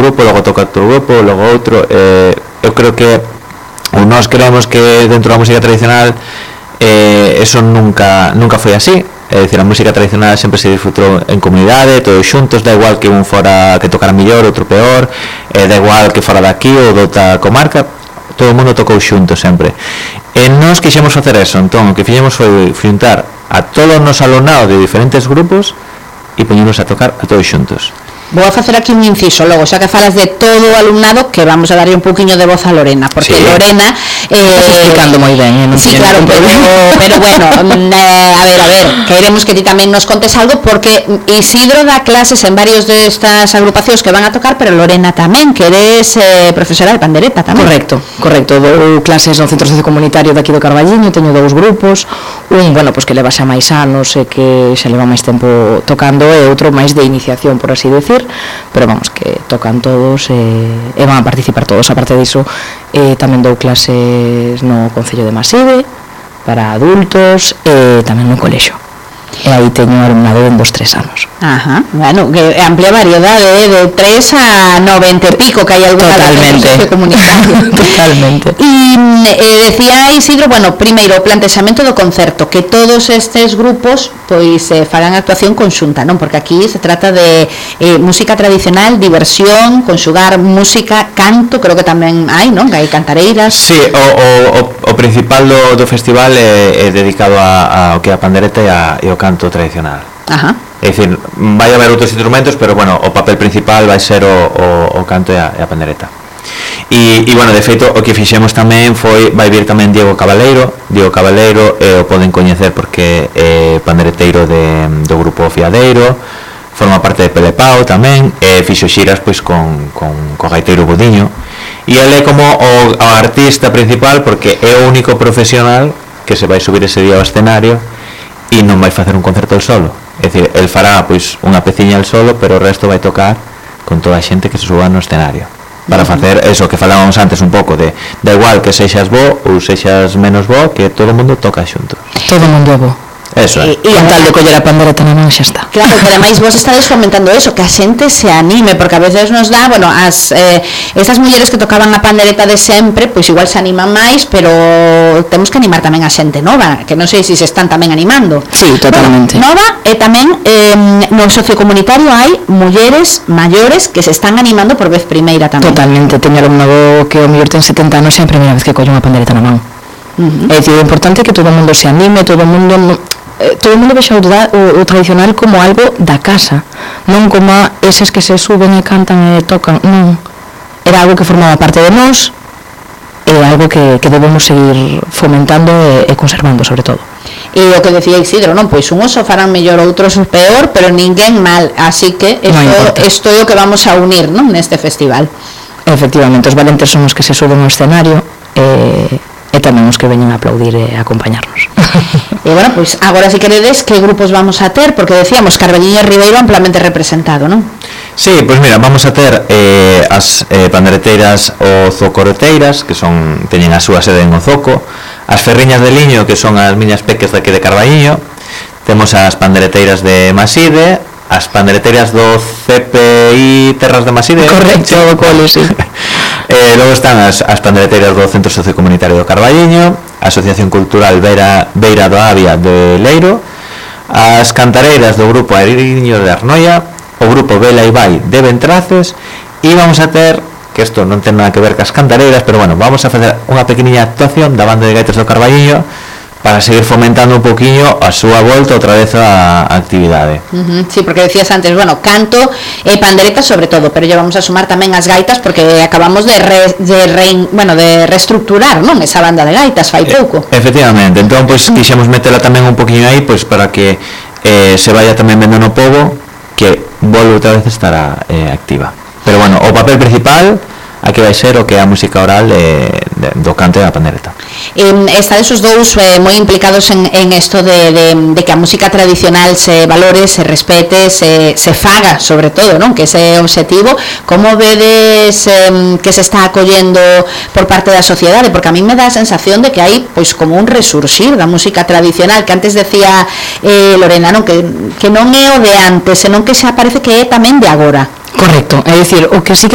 grupo, logo toca outro grupo, logo outro. Eu creo que nós creemos que dentro da música tradicional eso nunca foi así. É dicir, a música tradicional sempre se disfrutou en comunidade, todos xuntos, da igual que un fora que tocara mellor, outro peor, da igual que fora daqui ou doutra comarca, todo o mundo tocou xunto sempre. E nós quixemos facer eso, entón o que fixemos foi xuntar a todos nos alumnados de diferentes grupos e poñemos a tocar a todos xuntos. Vou a facer aquí un inciso logo, xa que falas de todo o alumnado, que vamos a darlle un poquinho de voz a Lorena, porque sí. Lorena estás explicando moi ben, non? Sí, claro, pero bueno, a ver, queremos que ti tamén nos contes algo, porque Isidro dá clases en varios destas agrupacións que van a tocar, pero Lorena tamén, que eres profesora de pandereta tamén. Correcto, dou clases no Centro Sociocomunitario daqui do Carballiño, teño 2 grupos, un, bueno, pois que leva xa máis anos e que xa leva máis tempo tocando, e outro máis de iniciación, por así decir, pero vamos, que tocan todos e van a participar todos. Aparte diso, tamén dou clases no Concello de Maside para adultos e tamén no colexio, e aí teño alumnado en 2-3 anos. Ajá, bueno, que amplia variedade, de 3 a 90 e pico, que hai alguna totalmente comunitaria. Totalmente. E decía Isidro, bueno, primeiro o plantexamento do concerto, que todos estes grupos pois fagan actuación conxunta, non? Porque aquí se trata de música tradicional, diversión, conxugar música, canto, creo que tamén hai, non? Que hai cantareiras. Sí, o principal do festival é dedicado ao que é a pandereta e ao canto tradicional. Ajá. É dicir, vai haber outros instrumentos, pero bueno, o papel principal vai ser o canto e a pandereta. E bueno, de feito, o que fixemos tamén vai vir tamén Diego Cabaleiro, o poden coñecer porque é pandereteiro do grupo Fiadeiro, forma parte de Pelepao tamén, e fixo xiras pois con gaiteiro Budiño, e ele é como o artista principal porque é o único profesional que se vai subir ese día ao escenario e non vai facer un concerto el solo. É dicir, el fará pois unha peciña el solo, pero o resto vai tocar con toda a xente que se suba no escenario para facer eso que falábamos antes un pouco de da igual que sexas bo ou sexas menos bo, que todo o mundo toca xuntos. Todo o mundo é bo. Eso é. E tal de coller a pandereta na man xa está. Claro, que ademais vos estades fomentando eso, que a xente se anime, porque a veces nos dá, bueno, estas mulleres que tocaban a pandereta de sempre, pois igual se animan máis, pero temos que animar tamén a xente nova, que non sei se están tamén animando. Sí, totalmente. Bueno, nova, e tamén no sociocomunitario hai mulleres maiores que se están animando por vez primeira tamén. Totalmente, teño alumnado que o mellor ten 70 anos e é a primeira vez que colle unha pandereta na man. É dicir, o importante é que todo o mundo se anime, todo o mundo vexa o tradicional como algo da casa, non como eses que se suben e cantan e tocan, non, era algo que formaba parte de nós, é algo que debemos seguir fomentando e conservando sobre todo. E o que decía Isidro, non, pois unhos o farán mellor, outros peor, pero ninguén mal, así que isto é o que vamos a unir, non, neste festival. Efectivamente, os valentes son os que se suben ao escenario e tamén os que veñen a aplaudir e a acompañarnos. E bueno, pois agora se queredes, que grupos vamos a ter? Porque decíamos Carballiño e Ribeiro amplamente representado, non? Sí, pois mira, vamos a ter as pandereteiras ozocoreteiras, que teñen a súa sede en Ozoco, as ferriñas de liño, que son as miñas peques daqui de Carballiño, temos as pandereteiras de Maside, as pandereteiras do CPI Terras de Maside. Correcto, do cole, sí. Logo están as pandereteiras do Centro Sociocomunitario do Carballiño, a Asociación Cultural Beira do Avia de Leiro, as cantareiras do grupo Airiño de Arnoia, o grupo Vela e Vai de Ventraces, e vamos a ter, que isto non ten nada que ver cas cantareiras, pero bueno, vamos a facer unha pequeniña actuación da banda de gaitas do Carballiño para seguir fomentando un poquinho a súa volta outra vez a actividade. Sí, porque decías antes, bueno, canto e pandereta sobre todo, pero lle vamos a sumar tamén as gaitas porque acabamos de reestructurar, non, esa banda de gaitas fai pouco. Efectivamente, entón pois quixemos metela tamén un poquinho aí, pois para que se vaya tamén vendo no pobo que volve outra vez estará activa. Pero bueno, o papel principal aquí vai ser o que é a música oral do canto e da pandereta. Estades os dous moi implicados en isto de que a música tradicional se valore, se respete, se faga, sobre todo, non? Que ese é o obxectivo. Como vedes que se está acollendo por parte da sociedade? Porque a mí me dá a sensación de que hai pois como un resurxir da música tradicional, que antes decía Lorena, non? Que non é o de antes, senón que xa parece que é tamén de agora. Correcto, é dicir, o que sí que